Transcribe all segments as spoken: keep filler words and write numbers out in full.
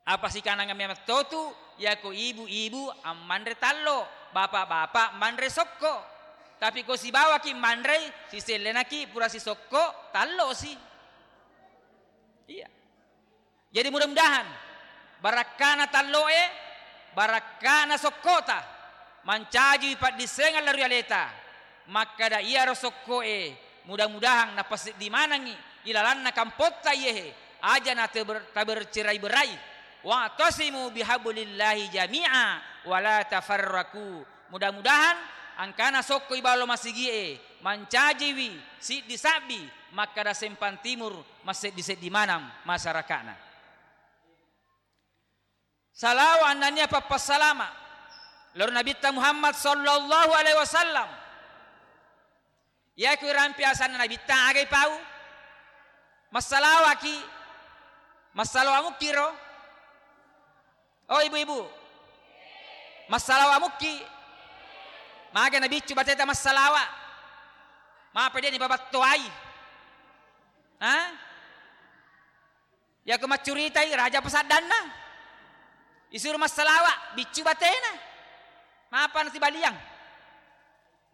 Apa sikananga memang totu, yako ibu-ibu ammanre tallo, bapak-bapak manre sokko. Tapi ko sibawaki manrei, sisellenaki pura sisokko, tallosi. Iya. Jadi mudah-mudahan barakkana talloe, barakkana sokkota, mancaji paddissengeng lao ri aleta. Makkada iyaro sokkoe, mudah-mudahan napaseddi manengngi ilalanna kampotta iyehe, aja na teber-, tabercerai-berai. Wa'tasimu bihablillahi jami'a wa la tafarraqu. Mudah-mudahan engkana sokko ibalo masigie mancajiwi siddi sabbi makkada Sempang Timur masseddi-seddi maneng masyarakatna. Salawa annania pappassalama lao ri Nabitta Muhammad sallallahu alaihi wasallam. Iyaku irampe asanna Nabitta, agai pau? Massalawaki? Massalawa mukkiro? Oh, ibu-ibu, massalawa mukki? Maga nabiccu bateta massalawa? Mapa de nibabattoai? Ha? Yako maccuritai, raja pasaddanna. Isuru massalawa, biccu batena. Mapa nasibaliang?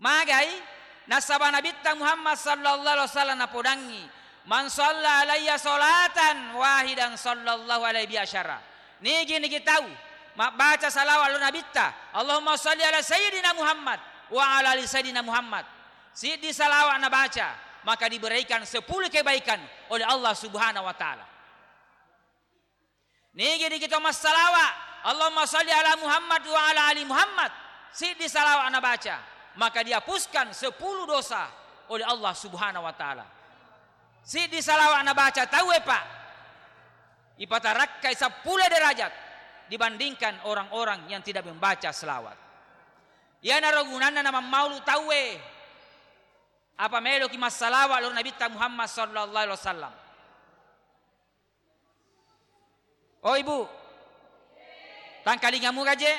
Magai? Nasaba Nabitta Muhammad sallallahu alaihi wasallam napodangngi, "Man shalla alayya sholatan wahidan shallallahu alaihi biha asyara." Nigi-nigi tau mabbaca salawat lao Nabitta, "Allahumma shalli ala Sayyidina Muhammad wa ala ali Sayyidina Muhammad." Siddi salawat nabaca, maka diberikan sepuluh kebaikan oleh Allah Subhanahu wa Ta'ala. Nigi-nigi to massalawa, "Allahumma shalli ala Muhammad wa ala ali Muhammad." Siddi salawat nabaca, maka dihapuskan sepuluh dosa oleh Allah Subhanahu wa Ta'ala. Siddi salawat nabaca tauwe, Pak, ipatarakkai sepuluh derajat dibandingkan orang-orang yang tidak membaca selawat. Iyanaro gunanna namammaulu tauwe. Apa meloki massalawa lao ri Nabitta Muhammad sallallahu alaihi wasallam? Oh, Ibu, tangkalingamu gaje?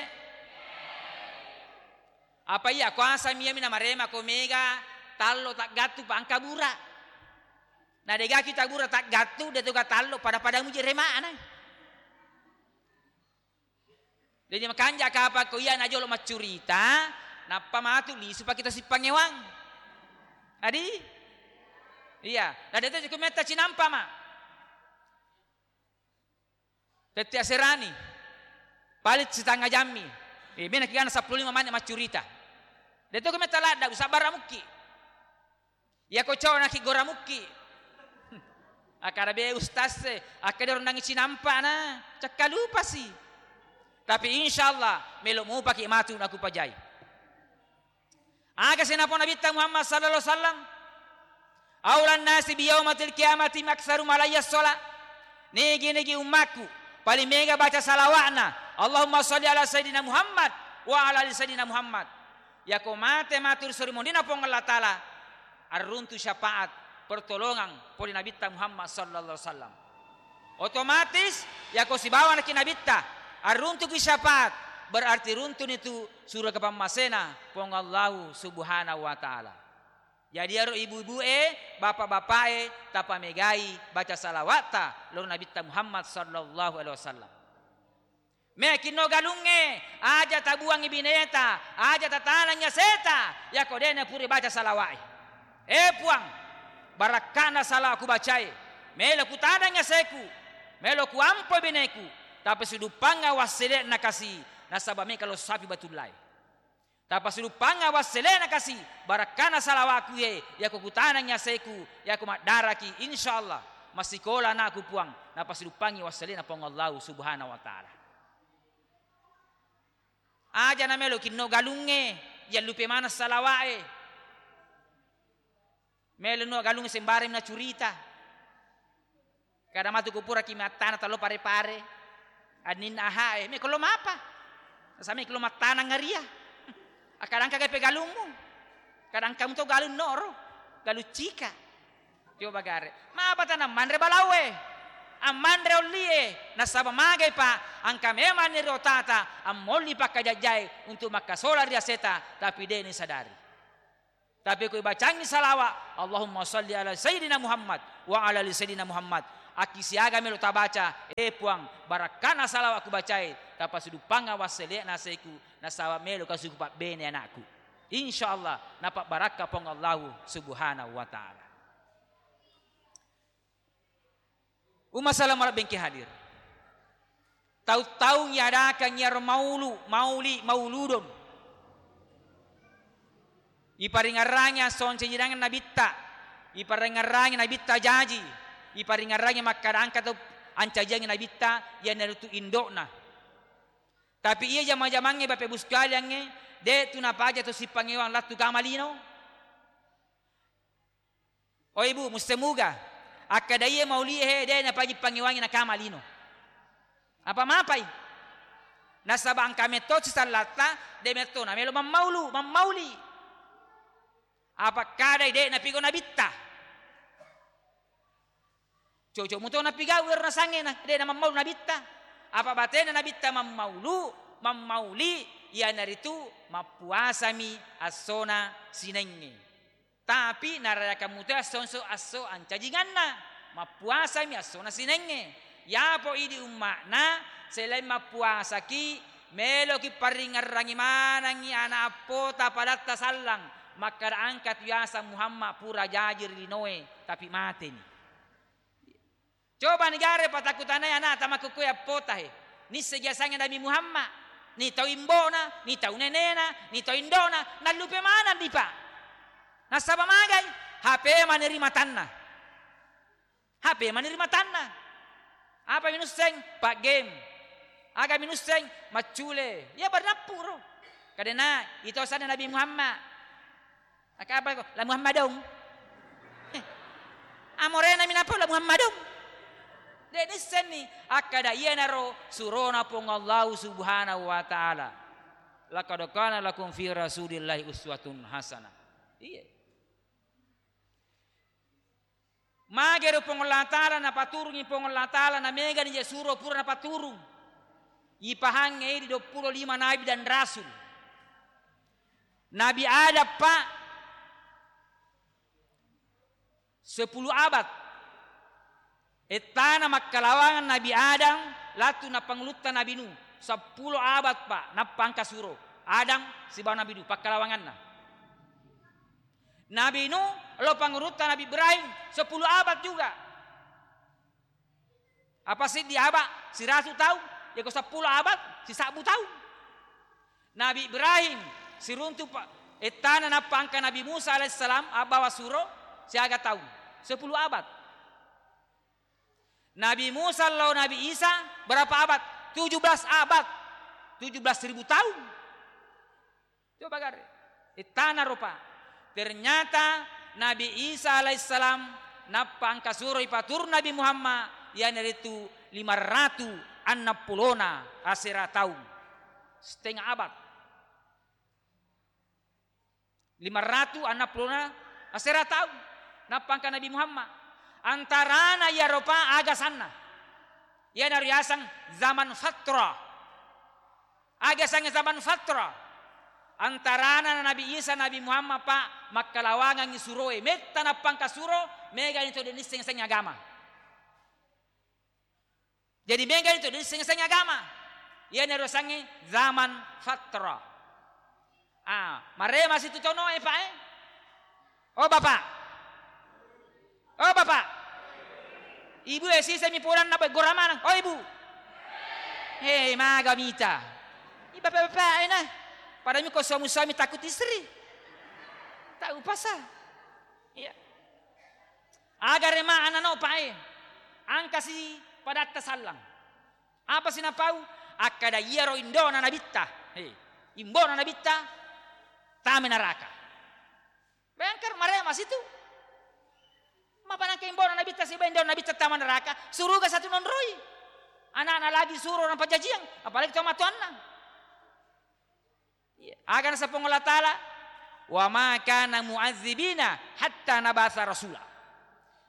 Apa iya kuasa miyami namarema ko mega tallo taggattu pa engka bura? Na degaki tabura taggattu, de toga tallo pada-pada muji remana. Jadi makanja kapang ko iya najolo maccurita, nappa matu lisu pake to sippangewang. Adi? Iya, na de to ku metta cinampa ma. Tette aserani. Paling setengah jammi. Eh, mena kigana seppulo lima menit maccurita. De to ku metta ladda, usabbara mukki. Iyako cona ki gora mukki. Akkada be ustaz e, akkeda rondangi cinampa na, cakka lupasi. Tapi insyaallah melo mupaki matu nakupajai. Aga senapa Nabitta Muhammad sallallahu alaihi wasallam? Aulan nasi biyaumatil qiyamati aktsaruhum alayya shola. Nigi-nigi ummakku paling mega baca salawatna, Allahumma shalli ala Sayyidina Muhammad wa ala ali Sayyidina Muhammad. Yako mate matu ri sori mondina Puang Allah Ta'ala, arruntu syafaat, pertolongan pole Nabitta Muhammad sallallahu alaihi wasallam. Otomatis yako sibawanaki Nabitta, arruntuki syafaat, berarti runtuni tu surga pammasena Puang Allahu Subhanahu wa Ta'ala. Jadi aro ibu-ibu e, bapak-bapak e, tapamegai baca salawatta lao ri Nabitta Muhammad sallallahu alaihi wasallam. Mekinno galungnge, aja tabuangngi bineta, aja tatanangngi aseta, yako de napura baca salawa'e. Eh Puang, barakkana salawa kubacae, melo kutanangngi aseku, melo kuampo bineku, tapi suduppangnga wassele'na kasi, nasaba meka lo sapi batullae. Tapasuduppangnga wasselena kasi, barakkana salawaku ye, yako kutanangngi aseku, yako maddaraki, insyaallah massikola anakku Puang, napasuduppangngi wasselena Puang Allahu Subhanahu wa Ta'ala. Aja namelo kinno galungnge, yallupe maneng salawa'e. Melo nuwa galung sembarang nacurita. Kada matu kupuraki mattana tallo pare-pare. Anninna ahae, mekko lo mapa? Nasami ko lo mattanang ngaria. Akadangka gape galungmu. Kadangka muto galung noro. Galung cika. Coba gare. Mapa tanang manre balaue? Ammanre ollie. Nasaba magai pa angka memang ni rotata ammolli pakkajajjae untuk makkasola ri aseta, tapi de ni sadari. Tapi ko ibacangngi salawa, Allahumma shalli ala Sayyidina Muhammad wa ala ali Sayyidina Muhammad, Akkisiaga melo tabaca, eh Puang, barakkana salawa' kubacae, tapasiduppangeng wassele'na aseku, nasaba' melo kasuku pabbene anakku. Insya Allah, napabbarakka Puang Allahu Subhanahu wa Ta'ala. Umma salama' bengke hadir. Tau-taung yadakang yaro maulu, mauli, mauludun. Iparingerrangi esso ancajingenna Nabitta, iparingerrangi Nabitta jaji, iparingerrangi makkada engka tau ancajiangngi Nabitta, iyanaritu indo'na. Tapi iya jama-jamangnge, Bapak Ibu sekaliangnge, de' tu napaja to sippangewang lattu kama lino. Oh Ibu, musse muga. Akkada iya maulie he, de' napaji pangewangi nakama lino. Apa mapai? Nasaba' engka metto sisallatta, de' metto namelo mammaulu, mammauli. Apa kadai de' napigau Nabitta? Cocok muto napigau ero nasangnge na, de' namammaulu Nabitta. Apa batena Nabitta mammaulu, mammauli, iyanaritu mappuasami essona Sinengnge. Tapi narayakang muto esso, esso, esso ancajinganna, mappuasami essona Sinengnge. Yapo idi umma'na, selain mappuasaki, meloki paringerrangi manengngi ana' appota padatta sallang, makkada engka tu yaseng Muhammad pura jaji ri linoe, tapi mateni. Coba ni gare patakutanai ana'ta makkukue appota he. Nisseng jasangnge Nabi Muhammad, ni tau imbona, ni tau nenena, ni tau indona, nallupe maneng dipa. Nasaba magai? H P mani ri matanna. H P mani ri matanna. Apa minusseng? Pak game. Aga minusseng? Maccule. Iya bernappu ro. Kadena ito sana Nabi Muhammad. Aka apa ko? La Muhammadong. Eh, amorena minapau La Muhammadong. De' nissenni. Akkada iyanaro surona Puang Allahu Subhanahu wa Ta'ala. Laqad kana lakum fi Rasulillahi uswatun hasanah. Iya. Magero Puang Allah Ta'ala napaturungi Puang Allah Ta'ala, namegani je suro pura napaturung. Ipahangnge idi duappulo lima nabi dan rasul. Nabi Adam, Pak, sepuluh abad. Ettana makkalawangan Nabi Adam, latu napangulutta Nabi Nuh. Seppulo abad, Pak, nappa engka suro. Adam sibawa Nabi Nuh, pakkalawanganna. Nabi Nuh, lo pangurutta Nabi Ibrahim, sepuluh abad juga. Apa siddi abad? Siratu taung. Yako seppulo abad, sisabbu taung. Nabi Ibrahim, siruntu pa-, ettana nappa engka Nabi Musa alaihissalam, abbawa suro, siaga taung? Sepuluh abad. Nabi Musa lao Nabi Isa, berapa abad? Tujuh belas abad. Tujuh belas ribu taung. Coba gare. Ittana rupa. Ternyata Nabi Isa alaihissalam nappa engka suroi paturung Nabi Muhammad, iyanaritu lima ratu annang pulona asera taung. Setengah abad. Lima ratu annang pulona asera taung. Nappa engka Nabi Muhammad. Antarana iyaro pa aga sanna. Iyanaro yaseng zaman fatra. Aga sangnge zaman fatra? Antarana Nabi Isa, Nabi Muhammad, Pak, makkalawangangngi suroe. Metta nappa engka suro, megani to de' nisseng-seng agama. Jadi, megani to de' nisseng-seng agama. Iyanaro sangnge zaman fatra. Ah, marema situ tono e, Pak, eh? Oh, Bapak. Oh, Bapak. Ibu e, sisemi pulanna, Pak, gora maneng. Oh, Ibu. Hei, maga mita. I bapak-bapak e, nah. Pada mi ko suami-suami takut istri. Tahu pasal. Iya. Aga rema anano, Pak, eh. Angkasi padatta sallang. Apa sinapau? Akkada iyaro indona Nabitta. Hei, imbona Nabitta tama naraka. Bayangkan, marema situ. Mapanangka imbona Nabitta siba indona Nabitta tama naraka, suruga satu nonroi. Anakna lagi suro napajajiang, apalagi to matoanna. Iya. Aga naseng Puang Allah Ta'ala, "Wa ma kana mu'adzibina hatta nabasa rasula."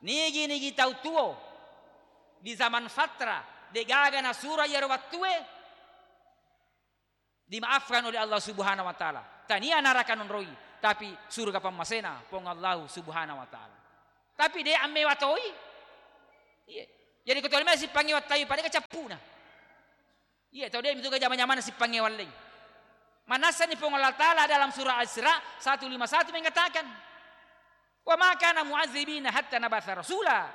Nigi-nigi tau tuo di zaman fatra, degaga nasuro iyaro wattue, dimaafkan oleh Allah Subhanahu wa Ta'ala. Tania naraka nonroi, tapi surga pammasena Puang Allah Subhanahu wa Ta'ala. Tapi de ammewa toi. Iya. Jadi ko tolime sippangnge wattawi pada kecappuna. Iya, tau de' mitu jama-jamana sippangnge walleng. Manassani Puang Allah Ta'ala dalam surah Al-Isra satu lima satu mengatakan, "Wa ma kana mu'adzibina hatta nabatha rasula."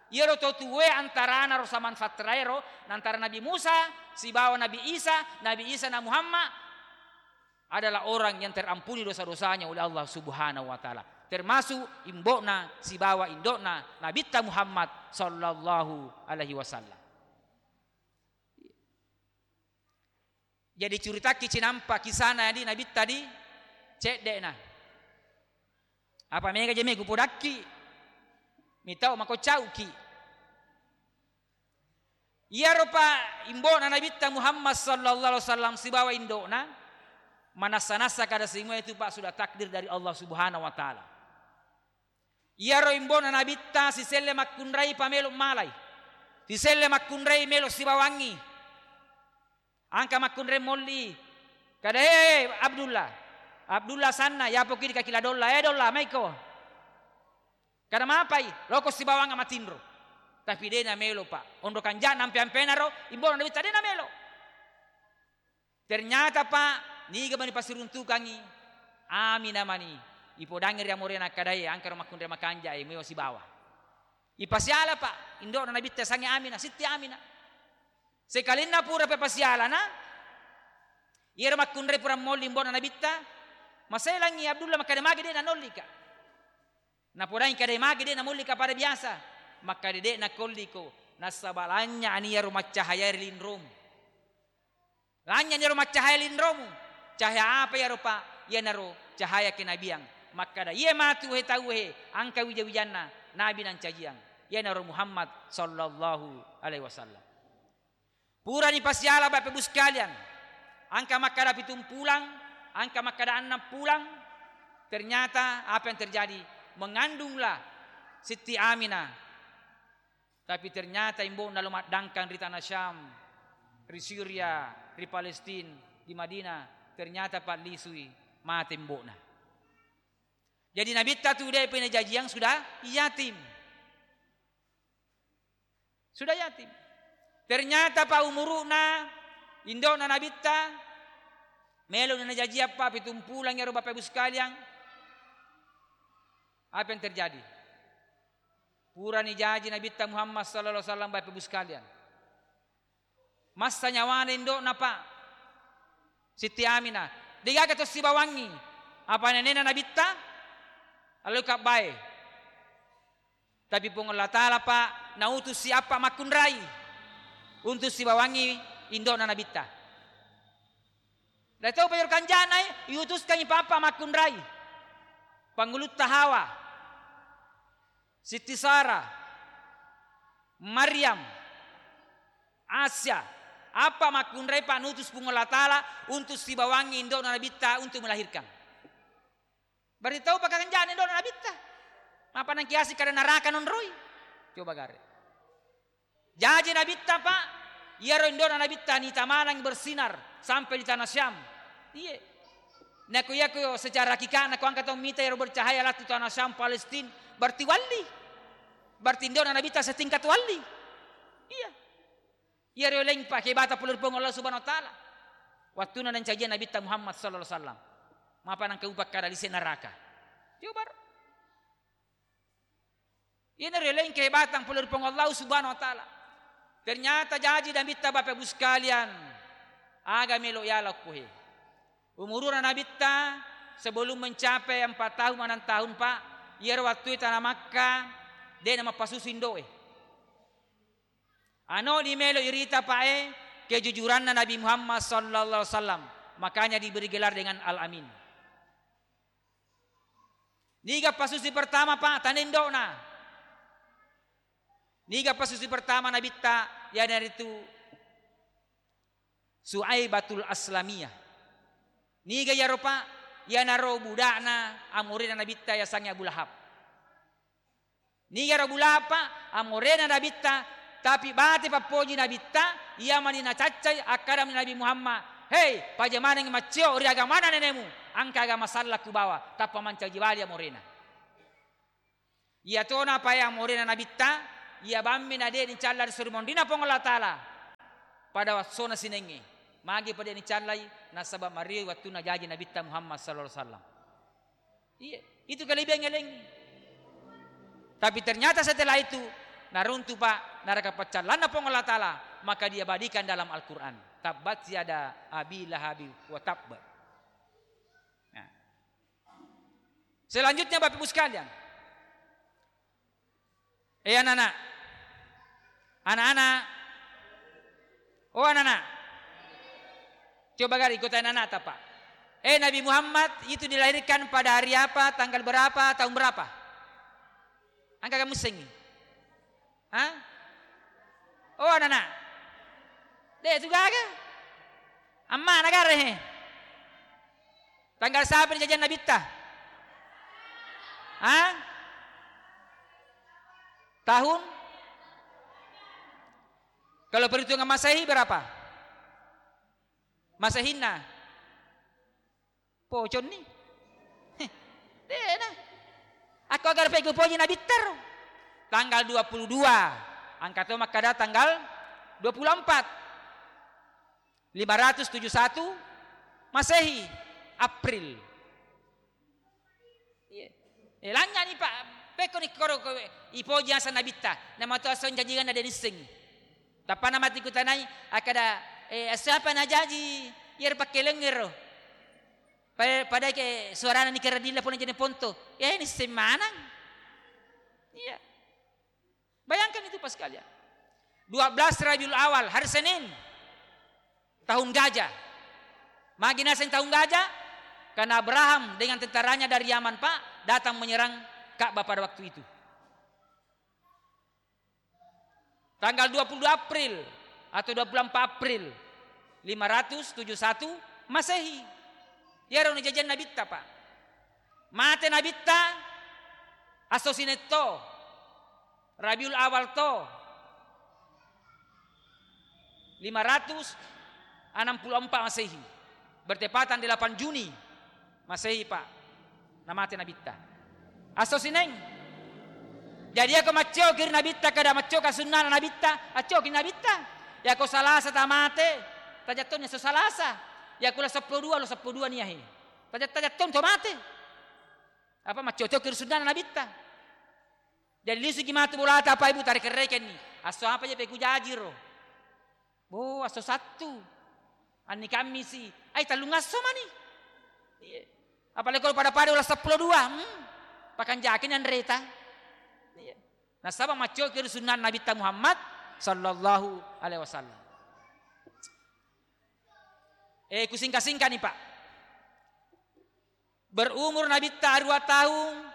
Iyaro to tuwe antarana ro saman fattaraero, antara Nabi Musa sibawa Nabi Isa, Nabi Isa na Muhammad adalah orang yang terampuni dosa-dosanya oleh Allah Subhanahu wa Ta'ala. Termasuk imbo'na sibawa indo'na Nabitta Muhammad sallallahu alaihi wasallam. Jadi curitakki cinampa kisana di Nabitta di cedde'na. Apa mega jeme kupodakki, mitau mako cauki. Iyaro pa imbo'na Nabitta Muhammad sallallahu alaihi wasallam sibawa indo'na, manassa-nassa kada simua itu pa sudah takdir dari Allah Subhanahu wa Ta'ala. Iyaro imbo'na Nabitta siselle makkunrai pamelo malai, siselle makkunrai melo sibawangi. Angka makkunrai molli. Kada, "Eh, Abdullah. Abdullah sanna, yapoki di kaki la Dolla. Eh, Dolla, maiko." Kada mapai, loko sibawang matinro. Tapi de' namelo, Pak. Onro kanja'na ampe-ampenaro, imbo'na Nabitta de' namelo. Ternyata, Pak, niga mani pasiruntukangi, Amina mani. Ipodangi ri amorena kadae, angkaro makkunrai makanja'e, meo sibawa. Ipasiala, Pak, indo'na Nabitta sange Amina, Sitti Amina. Sekalinna pura pepasialana, iyaro makkunrai pura molli imbo'na Nabitta, maselangi Abdullah makkeda magi de' nanollika. Napodangi kada magi de' namollika pada biasa. Makkeda de' nakolliko, nasaba lanynya'ni iyaro maccahaya ri linromu. Lanynya'ni iyaro maccahaya linromu. Cahaya apa iyaro, Pak? Iyanaro cahaya kenabian. Makkeda, "Iye matu he tau he, angka wija-wijanna nabi nancajiang." Iyanaro Muhammad sallallahu alaihi wasallam. Purani pasiala, Bapak Ibu sekalian, angka makkada pitung pulang, angka makkada annang pulang, ternyata apa yang terjadi? Mengandunglah Siti Aminah. Tapi ternyata imbo'na lo maddangkang ri tanah Syam, ri Syria, ri Palestina, di Madinah, ternyata pallisui, mate imbo'na. Jadi Nabitta tu de' pene jajiang sudah yatim. Sudah yatim. Ternyata pa umuru'na, indo'na Nabitta, melo na jajiang pa pitung pulang iyaro Bapak Ibu sekalian. Apa yang terjadi? Purani jaji Nabitta Muhammad sallallahu alaihi wasallam, Bapak Ibu sekalian. Massa nyawana indo'na, Pak. Siti Aminah. Degaga to sibawangngi. Apa nenena Nabitta? Allo kabbae. Tapi Puang Allah Ta'ala, Pak, nautusi apa makkunrai untuk sibawangngi indo'na Nabitta. Dai tau pajor kanjana, eh, iutuskangi papa makkunrai. Pangulutta Hawa, Siti Sarah, Maryam, Asia. Apa makkunrai, Pak, nutus Puang Allah Ta'ala untuk sibawangngi indo'na Nabitta untuk melahirkan. Berarti tau pakakanjana indo'na Nabitta. Mapa nangkiasi kada naraka nonroi. Coba gare. Jaji Nabitta, Pak, iyaro indo'na Nabitta nita maneng bersinar sampai di tanah Syam. Iye. Nako iyako secara hakikatna ko angka tau mita iyaro bercahaya latu tanah Syam, Palestina, berarti walli. Berarti indo'na Nabitta setingkat walli. Iya. Iyaro laing, Pak, kebata pole ri Puang Allah Subhanahu wa Ta'ala. Wattuna nancajiang Nabitta Muhammad sallallahu alaihi wasallam. Mapa nangka upakkada lise naraka. Coba. Iyanaro laing kehebatang pole ri Puang Allah Subhanahu wa Ta'ala. Ternyata jaji Nabitta, Bapak Ibu sekalian, aga melo yala okkohe. Umuruna Nabitta sebelum mencapai empat tahun, enam tahun, Pak, iyaro wattue tana Makkah, de' namappasusu indo'e. Ano di melo irita, Pak, e, kejujuranna Nabi Muhammad sallallahu alaihi wasallam, makanya diberi gelar dengan Al-Amin. Niga pasusi pertama, Pak, tana indo'na? Niga pasusi pertama Nabitta? Iyanaritu Suaibatul Aslamiyah. Niga iyaro, Pak? Iyanaro buda'na amorena Nabitta yasengnge Abu Lahab. Nigaro Abu Lahab, Pak, amorena Nabitta, tapi bate pappoji Nabitta, iya mani nacaccai, akkadami Nabi Muhammad, "Hei, paja maneng maccio ri agamana nenemu, angka agama salla kubawa," tappa mancaji bali amorena. Iyatona pae amorena Nabitta, Iya bammi na de' nicalla ri suri monrina Puang Allah Ta'ala pada wassona sinengnge. Magi pa de' nicallai? Nasaba' mariwi wattunna jaji Nabitta Muhammad sallallahu alaihi wasallam. Iya, itu kelebihan eleng. Tapi ternyata setelah itu, naruntu pa naraka paccallanna Puang Allah Ta'ala, maka diabadikan dalam Al-Quran. Tabbat yada Abi Lahabi wa tabba. Nah. Selanjutnya, Bapak Ibu sekalian, eh, anak-anak. Anak-anak. Oh, anak-anak. Coba gari ikut anak-anak, Pak. Eh, Nabi Muhammad itu dilahirkan pada hari apa, tanggal berapa, tahun berapa? Angka kamu sengi. Hah? Oh, anak-anak. Deh, itu gaga. Amma, negara, he. Tanggal siapa dijajah Nabitta? Hah? Tahun? Kalau perhitungan Masehi berapa? Masehinna? Poconni? Heh, dena. Aku agar pegu poji Nabitta ro. Tanggal dua puluh dua. Angka to makkada tanggal dua puluh empat. lima ratus tujuh satu Masehi, April. Iya. Eh, lanyani, Pak. Pekko ni koro kowe, ipoji asa Nabitta. Nama tu asa jajigan ada niseng. Tappa nama tiku tanai, akada, eh, siapa na jaji? Yer pakkelengero. Pa-, pada ke suarana ni keradilla pun jadi ponto. Eh, niseng manang. Iya. Bayangkan itu, Pak sekalian. Dua belas Rabiul Awal, hari Senin, tahun gajah. Magi naseng tahun gajah? Karena Abraham dengan tentaranya dari Yaman, Pak, datang menyerang Ka'bah pada waktu itu. Tanggal dua puluh dua April atau dua puluh empat April lima ratus tujuh satu Masehi. Iyaro najajiang Nabitta, Pak. Mate Nabitta, asso sinetto. Rabiul Awal to, lima ratus enam puluh empat Masehi, bertepatan delapan Juni Masehi, Pak, namate Nabitta. Asso Sineng. Jadi, ako maccoki ri Nabitta, kada maccoka sunnana Nabitta, accoki Nabitta. Yako Salasa tamate, tajattonni asso Salasa. Yako lo seppulo dua, lo seppulo dua niahi. Tajat-, tajattong to mate. Apa maccoki ri sunnana Nabitta. Jadi lisuki matu bolata, apa ibu, tarekerrekenni. Asso apa je pekujajiro? Bo, asso Sattu. Anni Kammisi. Ai, tellung asso mani. Iya. Apalagi kalau pada-pada ulah seppulo dua. Hmm. Pakanjakini anreta. Iya. Nasaba maccoki ri sunnah Nabitta Muhammad sallallahu alaihi wasallam. Eh, kusingka-singkani, Pak. Berumur Nabitta arua taung,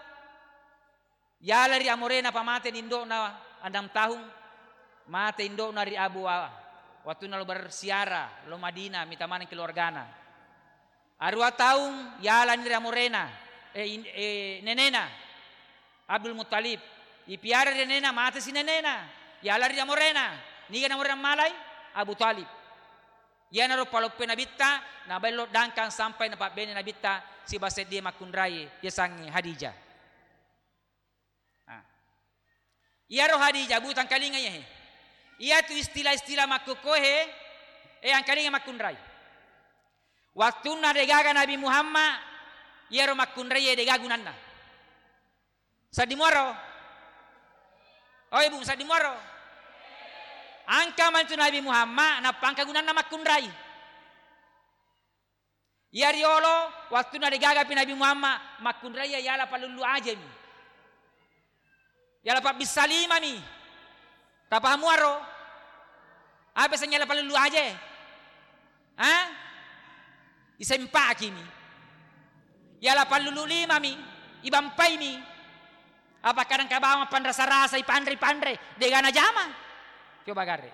yala ri amorena, pa mate ni indo'na annang taung, mate indo'na ri Abu Wa-, wattunna lo bersiara, lo Madinah, mita maneng keluargana. Arua taung, yalani ri amorena, eh, in-, eh, nenena, Abdul Muttalib. Ipiara ri nenena, mate si nenena, yala ri amorena. Niga namorena malai? Abu Thalib. Iyanaro paloppoe Nabitta, nabaello dangkang sampai napabbene Nabitta sibawa seddie makkunrai, yasengnge Hadijah. Ah. Iyaro Hadijah, bu, tangkalinga iyahe. Iyatu istilah-istilah makkukkoe, eh, angkalinga makkunrai. Wattunna degaga Nabi Muhammad, iyaro makkunraie dega gunanna. Saddi muaro? Oi, bu, saddi muaro? Angka mantu Nabi Muhammad, nappa angka gunanna makkunrai. Iya riolo, wattunna degagapi Nabi Muhammad, makkunrai yala pallullu ajemi. Yala pabbissa limami. Tapahamuaro? Apa sengnge yala pallullu aje? Ha? Isempakimi. Yala pallulu limami, ibampaimi. Apa kadang kabawang panrasa-rasa, ipanre-panre, dega najama. Coba gare.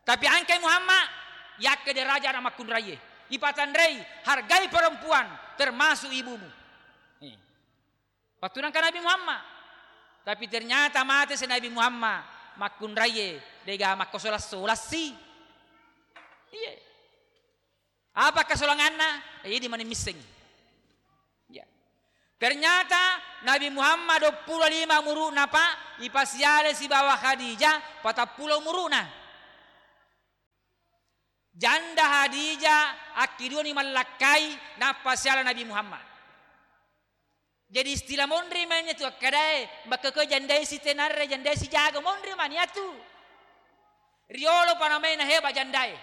Tapi angkai Muhammad, yakke deraja anak makkunraie. Ipatanrei, hargai perempuan, termasuk ibumu. Eh. Wattu nangka Nabi Muhammad. Tapi ternyata mate si Nabi Muhammad, makkunraie dega makkosolas-solassi. Iye. Apa kasolanganna? Eh, idi mani misseng. Ya. Ternyata Nabi Muhammad duappulo lima umuru'na, Pak, ipasiale sibawa Khadijah patappulo umuru'na. Janda Khadijah akkiduani mallakkai, nappa siala Nabi Muhammad. Jadi istilah monri menne tu akkadae, makkekoi jandae sitenarre, jandae sijago, monri mani atu. Riolo pa namai na hebat jandae.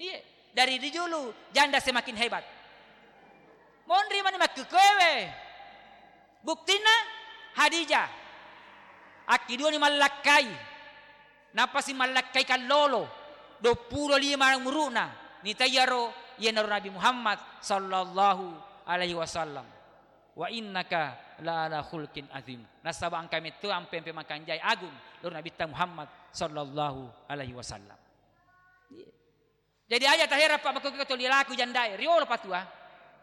Iye, dari dijulu janda semakin hebat. Monri mani makkekoewe. Buktinna Khadijah akkiduani mallakkai. Nappasi mallakkai kallolo, duappulo lima umuru'na, nitaiyaro iyanaro Nabi Muhammad sallallahu alaihi wasallam. "Wa innaka la ala khulqin azim." Nasaba engka metto ampe-ampe makanjai agung lao ri Nabitta Muhammad sallallahu alaihi wasallam. Iya. Jadi aja taherang, Pak, makkokko toli laku jandae, riolo patua.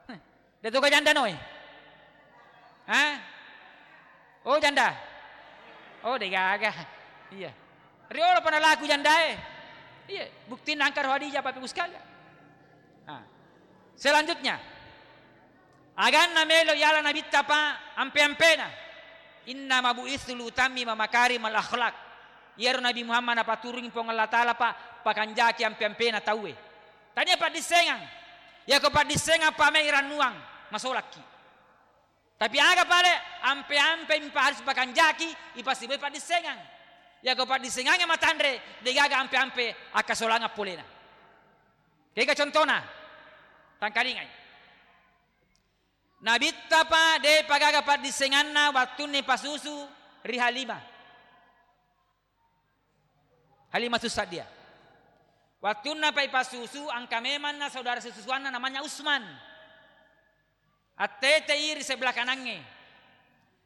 Heh. De toga janda noe. Hah? Oh, janda. Oh, degaga. Iya. Riolo pa nalaku jandae. Iya, buktinna engka ro Khadijah, Bapak Ibu sekalian. Nah. Selanjutnya, aganna melo yala Nabitta, Pak, ampe-ampena. Innama bu'itsu liutammima makarimal akhlak. Iyaro Nabi Muhammad napaturungi Puang Allah Ta'ala, Pak, pakanjaki ampe-ampena tauwe. Tania paddissengang. Yako paddissengang, Pak, mai rannuang, masolakki. Tapi aga pale ampe-ampe mipa harus pakanjaki, ipasiboi paddissengang. Yako paddissengangnge matanre, degaga ampe-ampe akkasolangang polena. Kega contona? Tangkalingai. Nabitta, Pak, de pagaga paddissenganna wattunna ipasusu ri Halimah. Halimah Tussadia. Wattunna, Pak, ipasusu, engka memanna saudara sesusuanna namanya Usman. Attetei ri sebelah kanangnge.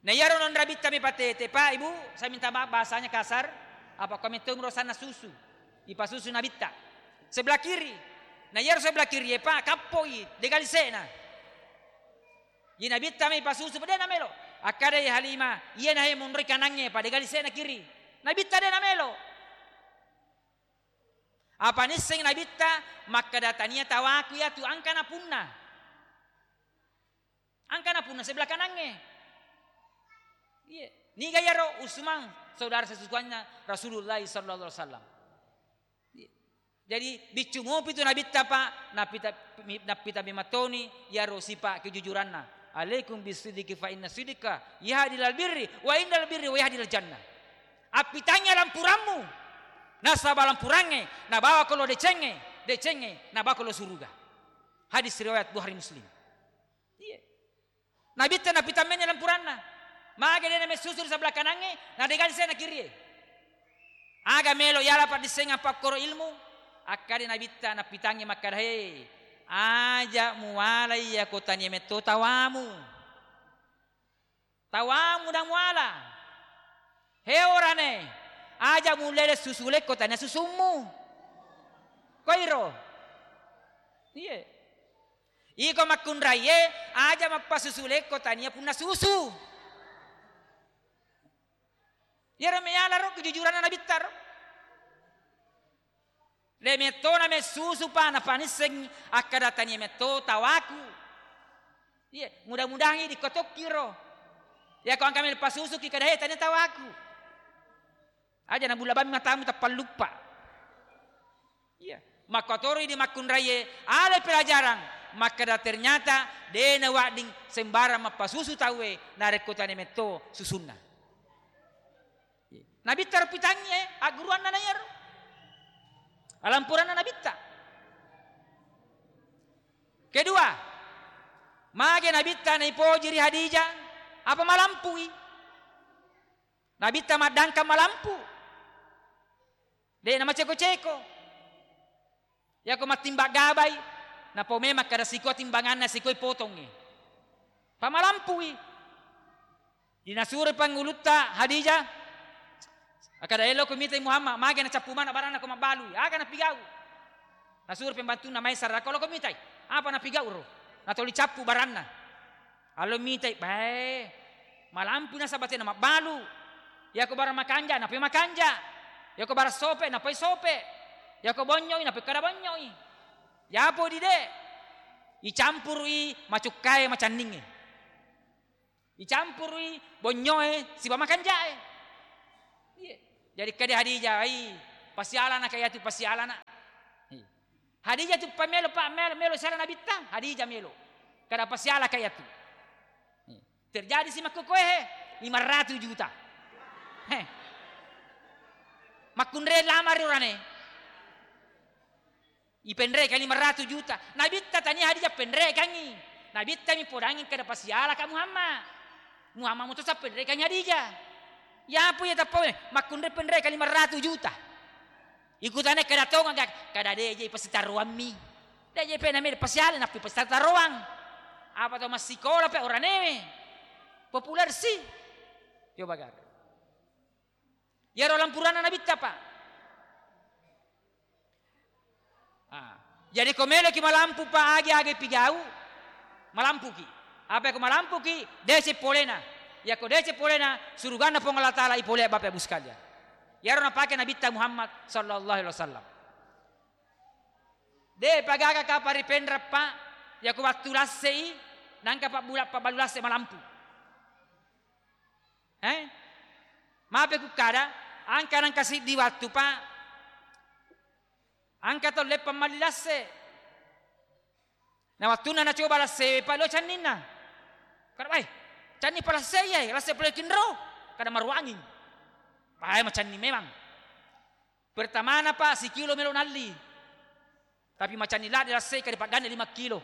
Na iyaro nonro Nabitta mipatete, Pak, Ibu, saya minta maaf bahasanya kasar, apa ko metto rosanna susu. Ipasusu Nabitta. Sebelah kiri. Na iyaro sebelah kiri, Pak, kappoi, dega lise'na. Ye Nabitta mai pasusu, de namelo. Akkadai Halimah, iyana he monroi kanangnge, pa dega lise'na kiri. Nabitta de namelo. Apa nisseng Nabitta makkeda tania tawaku iyatu, engka napunna. Engka napunna sebelah kanangnge. Iya. Niga iyaro Usman, saudara sesusuannya Rasulullah sallallahu alaihi wasallam. Iya. Jadi biccu mopi tu Nabitta, Pak, nappita, mi-, nappita mematoni iyaro sipa kejujuranna. "Alaikum bisidiki fa inna sidika yahdi ilal birri wa innal birri wa yahdi ilal jannah." Appitangngi lampurammu, nasaba lampurangnge nabawa ko lo decengnge, decengnge nabawa ko lo suruga. Hadis riwayat Bukhari Muslim. Iya. Nabitta napitammenni lampuranna. Mage de namessusu ri sebelah kanangnge, na dega lise'na kirie. Aga melo yala paddissengang pakkoro ilmu, akkade Nabitta napitangngi makkada, "He, aja muwalai yako tania metto tawamu. Tawamu na muwala. He orane, aja mulele susu lekko tania susummu." Koiro. Iye. Iko makkunraie, aja mappasusu lekko tania punna susu. Iyaro meyala ro kejujuranna Nabitta ro. De mettona messusu, Pak, napanisseng akkada tania metto tawaku. Iya, mudah-mudahan idi ko tokki ro. Yako engka melo pasusuki kada he tania tawaku. Aja nabulla bammi matamu tappalluppa. Iya. Makkotoro idi makkunraie, ale pelajaran, makkeda ternyata de nawedding sembarang mappasusu tauwe narekko tania metto susunna. Nabitta ro pitangngi, eh, agguruanna na iyaro. Alampuranna Nabitta. Kedua, mage Nabitta naipoji ri Khadijah, apa malampui? Nabitta maddangkang malampu. De namaceko-ceko. Yako mattimbang gabai, napau memang kada sikua timbanganna, sikoi potongnge. Pamalampui. Dinasuro pangulutta Khadijah. Akkada, "Elo ko mitai Muhammad, mage nacappu maneng baranna ko mabbalui. Aga napigau?" Nasuro pembantunna, "Maesara, ko lo ko mitai. Apa napigau ro? Natoli cappu baranna." Allo mitai, bae, malampu nasaba tena mabbalu. Yako barang makanja, napoi makanja. Yako barang sope, napoi sope. Yako bonyoi, napoi kada bonyoi. Yapo dide, icampurui macukkae macanningnge. Icampurui bonyoe sibawa makanjae. Iya. Jadi kade Hadijah, "Ai, pasialana ka iyatu pasialana." Iya. Hadijah tu pamelo, pa melo, melo siala Nabitta, Hadijah melo. Kada pasiala ka iyatu. Iya. Terjadi si makkukoe he, lima ratus juta. He. Makkunre lamari urane. Ipenrekangngi lima ratus juta. Nabitta tania Hadijah penrekangngi. Nabitta mi podangngi kada pasiala ka Muhammad. Muhammad mutosa penrekangngi Hadijah. Yapo iya tappawe makkunre penrekang lima ratus juta. Ikutane kada tonga ga, kada de je pasitaroammi. De je pe name pasiala nappi pasitaroang. Apa to massikola pe oranewe. Populer si. Yo bagar. Iyaro lampuranna Nabitta, Pak. Ah. Jadi ko meloki malampu, Pak, agi-agi pigau, malampuki. Apa ko malampuki, dece polena. Yako dece polena, suruganna Puang Allah Taala ipole, Bapak Ibu sekalian. Iyaro napake Nabitta Muhammad sallallahu alaihi wasallam. De pagaga kapang ri Penrang, Pak, yako wattu lassei, nangka pabbula-, pabbalu lasse malampu. Eh? Mape kukkada, angka nangka siddi wattu, Pak. Angka tau leppang malli lasse. Na wattunna nacoba lasse, Pak, lo canninna. Kada, "Wai, canni pa lasse iya, lasse pole kinro." Kada maruanging. Pae macanni memang. Pertamana, Pak, sikilo melo nalli. Tapi macanni ladde lasse, kada pagganna lima kilo.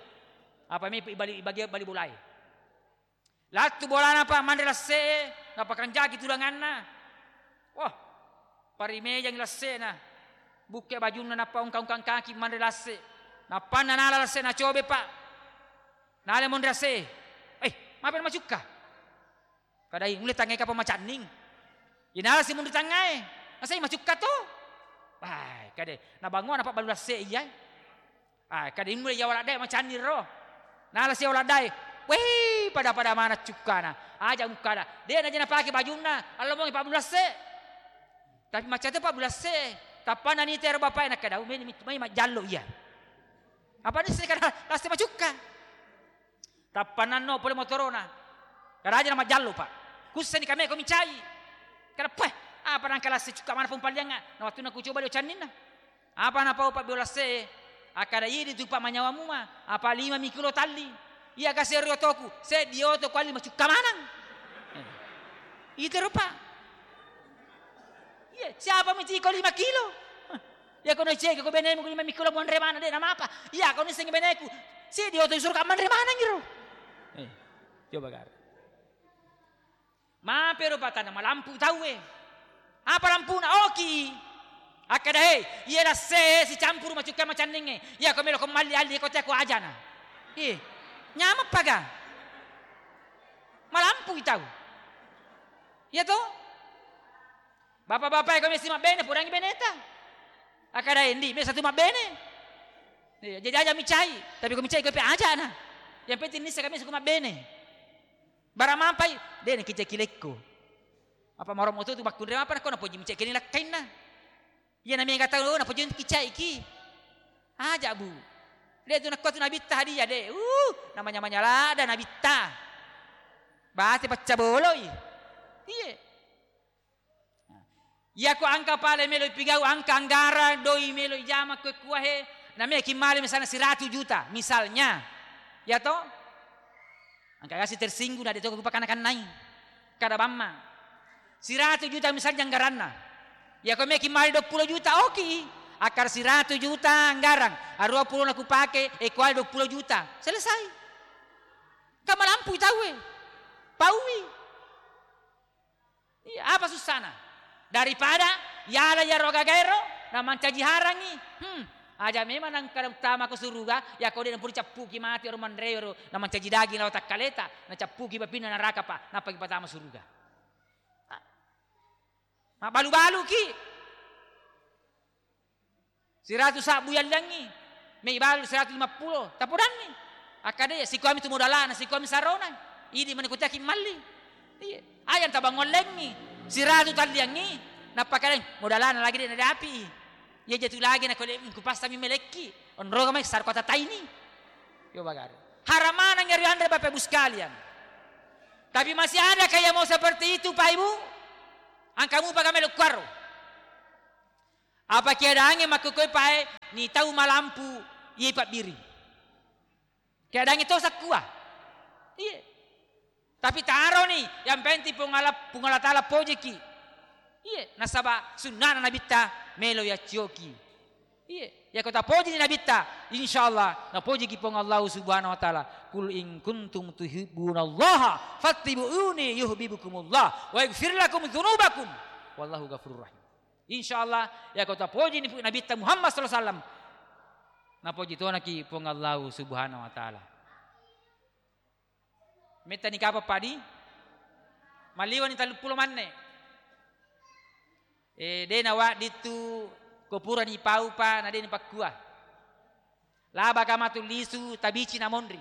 Apa me ibali, ibagi, bali bolae. Lattu bolana, Pak, manre lasse, napakanjaki tudanganna. Wah, parimejangi lassena. Bukke bajunna, nappa ungka-ungkang kaki manre lasse. Nappanna nala lasse, nacobe, Pak. Nala monre lasse. Eh, mape macukka? Kadai, mulle tangngai kapang macanning. Inala si munri tangngae. Nasai macukka to? Wah, kade. Nabangoa napabbalu lasse iya. Ah, kade mulle iya waladdae macanning ro. Nala si waladdae. Wei, pada-pada mana cukkana. Aja mukkada. De naja napake bajunna. Allo mongi pabbalu lasse. Tapi macca to pabbalu lasse. Tappanna nitero bapae nakkada, "Umeni mai majjallo iya." Apa nisseng kada lasse macukka? Tappa nanno pole motorona. Karaja na majjallo, Pak. Kusseni kame ko micai. Kada, "Peh, apa nangka lasse cukka mana pong palliangnga?" Na wattunna kucoba dio canninna. Apa napau pabbalu lasse? Akkada, "Idi tu, Pak, manyawa mua. Apa lima mi kilo talli. Iya kasi ri otoku. Seddi oto kualli macukka manang." Eh. Itero, Pak. Iya, siapa mi tiko lima kilo? Iya, kono cege ko benemu lima mi kilo monre mana de namapa. Iya, kono sengi beneku. Seddi oto suruh manre manang iro. Eh, coba gar. Mape ro patana malampu tauwe. Apa lampuna? Oki. Akkada, "Hei, iya lasse sicampuru macukka macanningnge. Iya ko melo ko malli alli ko teko ajana." Ih, nyameng paga. Malampui tau. Iya to? Bapak-bapak, ko mesi mabbene, podangi beneta. Akkada, "Endi, mesa tu mabbene." Iya, jadi aja micai, tapi ko micai ko pe ajana. Yang penting nissa kami suku mabbene. Barang mampai, de na kicai kilekko. Apa maro moto tu bakkunre apa nakko napoji micai kini lakkainna. Iya na mega tau napoji kicaiki. Aja, Bu. De tu nakko tu nabitta hadiah de. Uh, namanya manyalada nabitta. Bate pacca boloi. Iye. Iyako angka pale melo ipigau, angka anggarang doi melo ijama kue kuahe, nameki male misalnya siratu juta, misalnya. Ya to? Angka gasi tersinggung, na de to kupakana-kanai. Kada bamma. Siratu juta misalnya anggaranna. Iyako meki male dua puluh juta, oki. Akar siratu juta anggarang, arua puluh na kupake, ekual dua puluh juta. Selesai. Kamalampui tauwe. Paui. Iya, apa sussana? Daripada yala yaro gagaero na mancaji harangi. Hmm, aja memang nangka utama ko suruga, yako de nampuri cappuki mati ero manreo ero na mancaji daging lao takkaleta, na cappuki bapinna naraka pa, nappa ki patama suruga. Ah. Mabbalu-baluki. Siratu sabbu yalliangngi, mei balu siratu lima puluh, tapodanni. Akkada iya, sikuami tu modalana, sikuami sarona. Idi mani kutiaki malli. Iya. Ayang tabang wallengngi, siratu talliangngi, nappa kadang modalana lagi de nadapi. Iya jatu lagi na kole kupastami melekki. Onroga mai sar kota taini. Yo bagari. Haramanang ri anre Bapak Ibu sekalian. Tapi masih adakah yang mau seperti itu, Pak Ibu? Engka mupa ga melo kuaro. Apa keadaangnge makkukkoe pae ni tau malampu iye pabbiri. Keadaangnge to sakkua. Iye. Tapi taroni, yang penting Puang Allah, Puang Allah Taala pojiki. Iye, nasaba sunnana Nabitta melo yaccoki. Iye, yako tapojini Nabitta, insyaallah napojiki Puang Allah Subhanahu wa Taala. "Qul in kuntum tuhibbunallaha fattabi'uni yuhibbukumullah wa yaghfir lakum dzunubakum. Wallahu ghafurur rahim." Insyaallah, yako tapojini Nabitta Muhammad sallallahu alaihi wasallam, napoji tonaki Puang Allah Subhanahu wa Taala. Mettani kapang padi? Maliwani telluppulo manne. Eh, de' nawaddittu ko purani paupa na de' napakkua. Labaka matu lisu tabici na monri.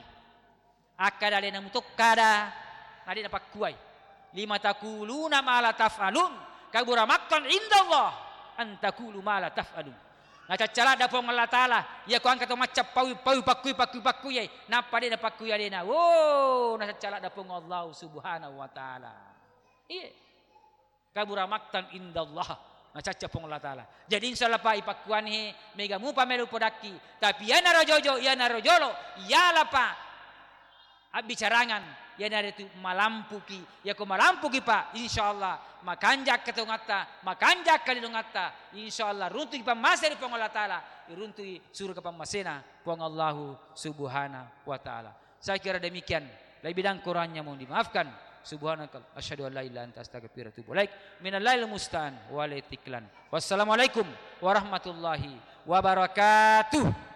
Akkada alena mutokkada na de' napakkuai. Lima taquluna ma la taf'alun. Kabura maqtan indallah an taqulu ma la taf'alun. Nacaccaladda Puang Allah Taala, iya ko engka to macca paui-paui pakkui-pakkui-pakkui, nappa de' napakkui alena. Wo, nacaccaladda Puang Allah Subhanahu wa Taala. Iye. Kabura maqtan indallah. Nacacca Puang Allah Taala. Jadi insyaallah pa ipakkuani he, mega mupa melo podakki. Tapi iyanaro jojo, iyanaro jolo, iyalapa abbicarangan, iyanaritu malampuki. Yako malampuki, Pak, insyaallah makanja ketongatta, makanja kalilongatta, insyaallah runtuki pammase ri Puang Allah Taala, runtuki suruga pammasena Puang Allahu Subhanahu wa Taala. Saya kira demikian. Lebih dan kurangnya mohon dimaafkan. Subhanakal, asyhadu an la ilaha illa anta astaghfiruka wa atubu ilaik. Minallahil musta'an wa alaihi tiklan. Wassalamualaikum warahmatullahi wabarakatuh.